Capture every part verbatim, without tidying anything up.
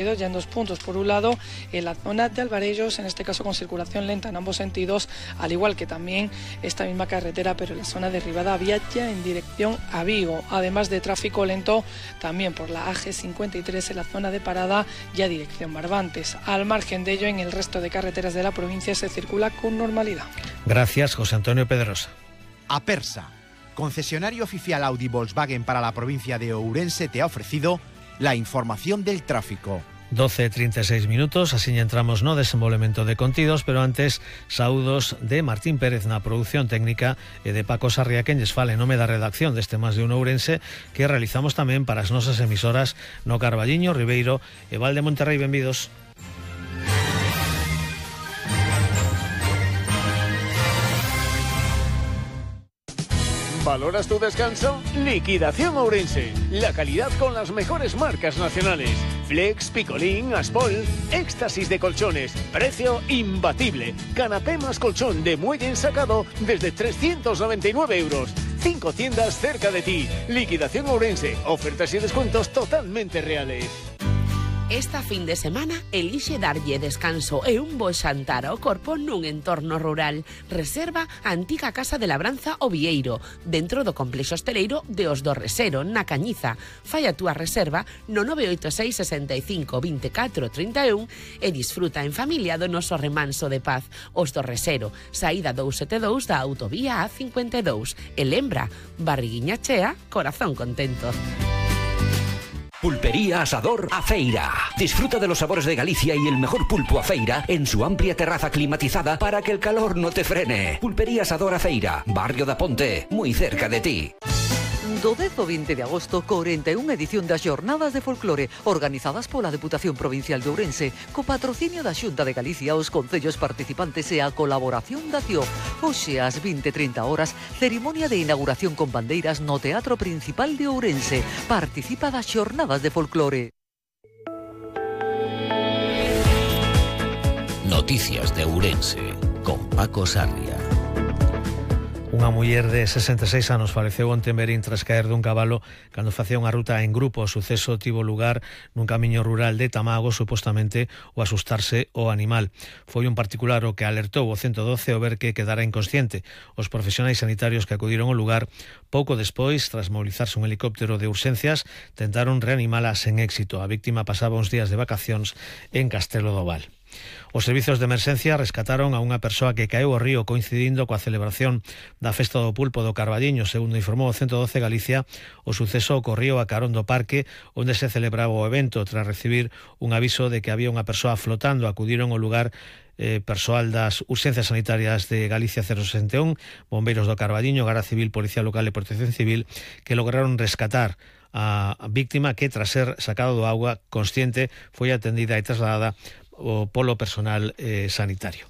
ya en dos puntos. Por un lado, en la zona de Alvarellos, en este caso con circulación lenta en ambos sentidos, al igual que también esta misma carretera, pero en la zona de Ribadavia, ya en dirección a Vigo. Además de tráfico lento también por la A G cincuenta y tres en la zona de parada, ya dirección Barbantes. Al margen de ello, en el resto de carreteras de la provincia se circula con normalidad. Gracias, José Antonio Pedrosa. Apersa, concesionario oficial Audi Volkswagen para la provincia de Ourense, te ha ofrecido la información del tráfico. doce e trinta e seis minutos, así entramos no desenvolvemento de contidos, pero antes saúdos de Martín Pérez na produción técnica e de Paco Sarria, quen lles fale nome da redacción deste Más de un Ourense, que realizamos tamén para as nosas emisoras no Carballiño, Ribeiro e Val de Monterrey. Benvidos. ¿Valoras tu descanso? Liquidación Ourense. La calidad con las mejores marcas nacionales. Flex, Picolín, Aspol. Éxtasis de colchones. Precio imbatible. Canapé más colchón de muelle ensacado desde trescientos noventa y nueve euros. Cinco tiendas cerca de ti. Liquidación Ourense. Ofertas y descuentos totalmente reales. Esta fin de semana elixe darlle descanso e un bo xantar ao corpo nun entorno rural. Reserva a antiga Casa de Labranza O Vieiro, dentro do complexo hosteleiro de Os do Resero, na Cañiza. Fai a túa reserva no nove oito seis, sesenta e cinco, veinticuatro, treinta e un e disfruta en familia do noso remanso de paz. Os do Resero, saída doscientos setenta e dous da autovía A cincuenta e dous. E lembra, barriguiña chea, corazón contento. Pulpería Asador Afeira. Disfruta de los sabores de Galicia y el mejor pulpo Afeira en su amplia terraza climatizada para que el calor no te frene. Pulpería Asador Afeira, Barrio da Ponte, muy cerca de ti. Do dez ao vinte de agosto, corenta e unha edición das Xornadas de Folclore, organizadas pola Deputación Provincial de Ourense, co patrocinio da Xunta de Galicia, os concellos participantes e a colaboración da C I O. Hoxe, ás vinte e trinta horas, cerimonia de inauguración con bandeiras no Teatro Principal de Ourense. Participa das Xornadas de Folclore. Noticias de Ourense, con Paco Sarria. Unha muller de sesenta e seis anos faleceu onte en Berín tras caer dun cabalo cando facía unha ruta en grupo. O suceso tivo lugar nun camiño rural de Tamago, supostamente o asustarse o animal. Foi un particular o que alertou o ciento doce ao ver que quedara inconsciente. Os profesionais sanitarios que acudiron ao lugar pouco despois, tras mobilizarse un helicóptero de urxencias, tentaron reanimala sen éxito. A víctima pasaba uns días de vacacións en Castelo do Val. Os servizos de emerxencia rescataron a unha persoa que caeu ao río coincidindo coa celebración da Festa do Pulpo do Carballiño. Segundo informou o ciento doce Galicia, o suceso ocorrió a carón do parque onde se celebraba o evento. Tras recibir un aviso de que había unha persoa flotando, acudiron ao lugar eh, persoal das urxencias sanitarias de Galicia cero sesenta e un, bombeiros do Carballiño, Garda Civil, Policía Local e Protección Civil, que lograron rescatar a víctima que, tras ser sacado do auga consciente, foi atendida e trasladada o polo personal eh, sanitario.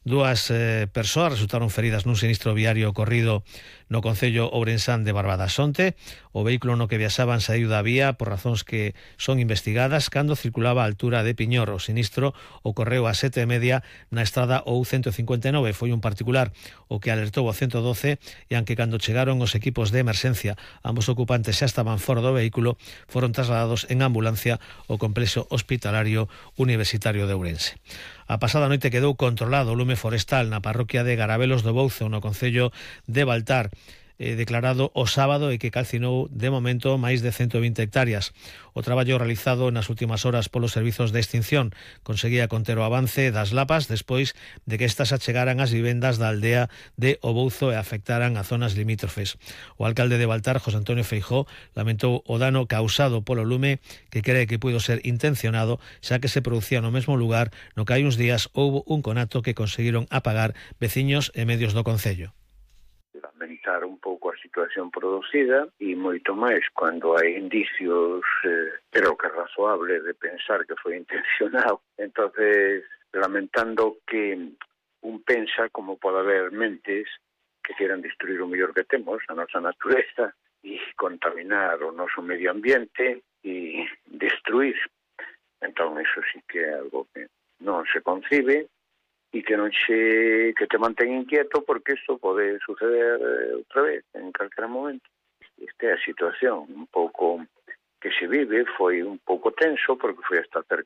Dúas eh, persoas resultaron feridas nun sinistro viario ocorrido no concello ourensán de Barbadasonte. O vehículo no que viaxaban saíu da vía por razóns que son investigadas cando circulaba a altura de Piñor. O sinistro ocorreu a sete e media na estrada O U ciento cincuenta e nove. Foi un particular o que alertou o ciento doce e aunque cando chegaron os equipos de emerxencia ambos ocupantes xa estaban fora do vehículo, foron trasladados en ambulancia ao complexo hospitalario universitario de Ourense. A pasada noite quedou controlado o lume forestal na parroquia de Garabelos do Bouzo, no concello de Baltar, eh, declarado o sábado e que calcinou de momento máis de ciento vinte hectáreas. O traballo realizado nas últimas horas polos servizos de extinción conseguía conter o avance das lapas despois de que estas achegaran ás vivendas da aldea de O Bouzo e afectaran a zonas limítrofes. O alcalde de Baltar, José Antonio Feijóo, lamentou o dano causado polo lume, que cree que puido ser intencionado, xa que se producía no mesmo lugar no que hai uns días houbo un conato que conseguiron apagar veciños e medios do concello. Lamentar un pouco a situación producida e moito máis cando hai indicios, eh, creo que é razoable de pensar que foi intencionado. Entonces, lamentando que un pensa como pode haber mentes que quieran destruir o mellor que temos, a nosa natureza, e contaminar o noso medio ambiente e destruir. Entón, iso sí que é algo que non se concibe e que non che, que te mantén inquieto porque isto pode suceder eh, outra vez en calquera momento. Esta é a situación un pouco que se vive, foi un pouco tenso porque foi hasta cerca